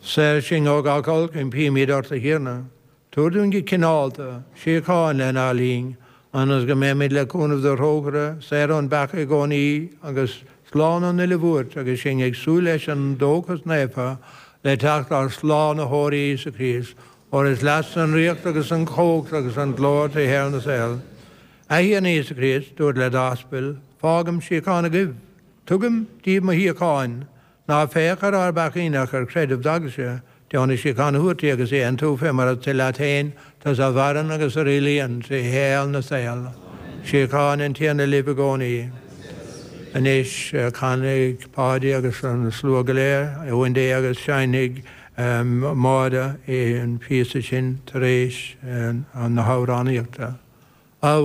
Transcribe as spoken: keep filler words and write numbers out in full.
Saor sinn ó gach olc, impímid ort, a Thiarna. Tabhair dúinn go cineálta, síocháin lenár linn, ionas go mbeimid le cúnamh do thrócaire, saor ón bpeaca i gcónaí agus slán ón uile bhuairt agus sinn ag súil leis an dóchas naofa le teacht ár Slánaitheora Íosa Críost, óir is leatsa an ríocht agus an chumhacht agus an glóir trí shaol na saol. A Thiarna Íosa Críost, dúirt le d'aspail, fágaim síocháin agaibh, tugaim daoibh mo shíocháin, ná féach ar ár bpeacaí ach ar chreideamh d'eaglaise, deonaigh síocháin a thabhairt di agus í a aontú fé mar is toil leat féin, tusa a mhaireann agus a rialaíonn trí shaol na saol. Síocháin an Tiarna libh i gcónaí. Anois canfaidh Páidí agus an slua go léir Uain Dé agus seinnfidh Máire an píosa sin tar éis na hamhránaíochta.